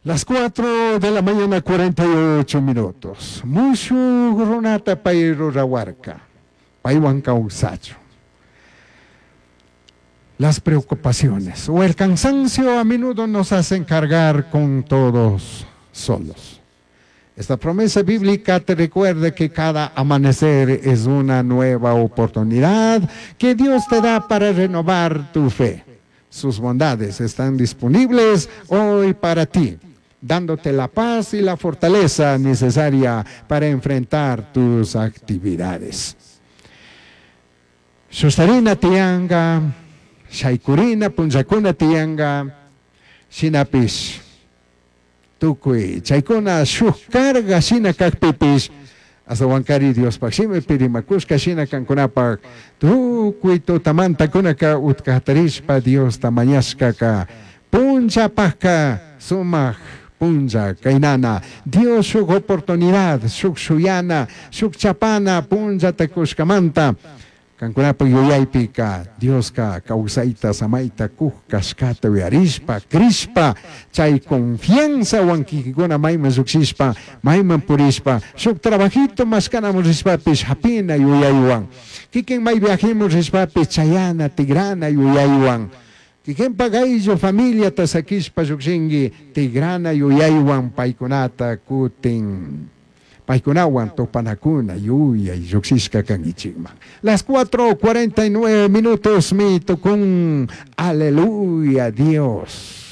Las 4 de la mañana 48 minutos. Mushuj runata pay rurahuarca. Paywan kawsachun. Las preocupaciones o el cansancio a menudo nos hacen cargar con todos solos. Esta promesa bíblica te recuerda que cada amanecer es una nueva oportunidad que Dios te da para renovar tu fe. Sus bondades están disponibles hoy para ti, dándote la paz y la fortaleza necesaria para enfrentar tus actividades. Sustarina tiyanga, shaykurina punllakuna tiyanga, shinapish tucui chaicuna shuj carga shina cajpipish, ashtahuancari Diospaj shimipi rimacushca shina cancunapaj tucui tutamantacunaca utca jatarishpa Diosta mañashcaca punllapajca sumaj punlla cainana Dios shuj oportunidad, shuj shuyana, shuj chapana punllata cushcamanta Cancunapaj yuyaipica Diosca causaita samaita cuj cashcata uyarishpa, crishpa, chai confianzahuan quiquicuna maiman llujshishpa, maiman purishpa, shuj trabajito mashcanaman rishpapish japina yuyaihuan, quiquin mai viajeman rishpapish chayana, tigrana yuyaihuan, quiquinpaj ayllu familiata saquishpa llujshingui, tigrana yuyaihuan paicunata cutin paykunawan tupanakuna yuyay llujshishka kankichikman. Las 4:49 minutos mi tukun. Aleluya Dios.